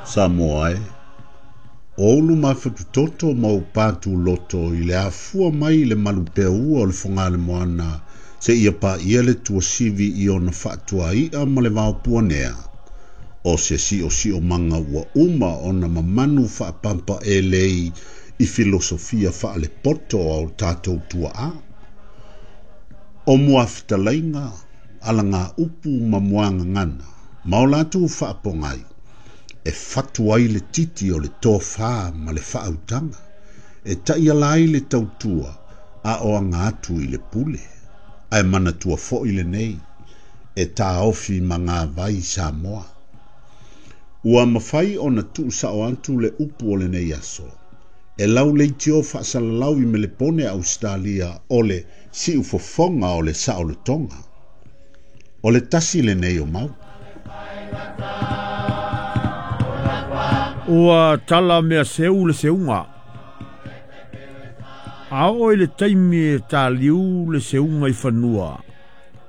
Samoa e, o ulu mafatutoto ma ou patuloto i le afua mai i le malupeaua o le Fogaalemoana seia paia le tuasivi i ona faatuai'a ma le vaopuanea, o se siosiomaga ua uma ona mamanu faapampaelei i filosofia faalepoto a o tatou tuaa. O muafetalaiga, alagaupu ma muagagana, ma o latou faapogai, e fatu ai le titi o le tofā ma le faautaga, e taiala ai le tautua a o aga atu i le pule. Ae manatua foi lenei, e taofi magavai Samoa. Ua mafai ona tuusao atu le upu o lenei aso, e lau leitio faasalalau i Melepone Ausetalia o le siufofoga o le saolotoga. O le tasi lenei o mau. Ua tala mea seu le seuga. A oo i le taimi e taliu le seuga i fanua,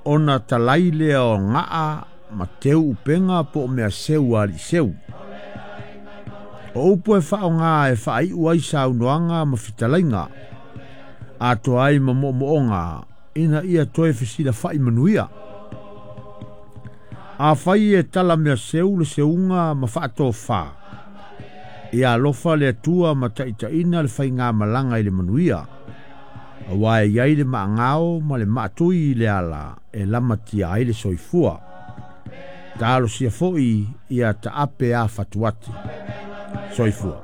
ona talai lea o gaa ma teu upega po o mea seu a alii seu. O upu e faaaoga e faaiu ai saunoaga ma fetalaiga, atoa ai ma moomooga ina ia toe fesilafai manuia. Afai e tala mea seu le seuga ma faatofā, ia alofa le Atua ma taitaiina le faigamalaga i le manuia, auā e i ai le maagao ma le maatui i le ala e lamatia ai le soifua. Talosia foi ia taape a fatuati. Soifua.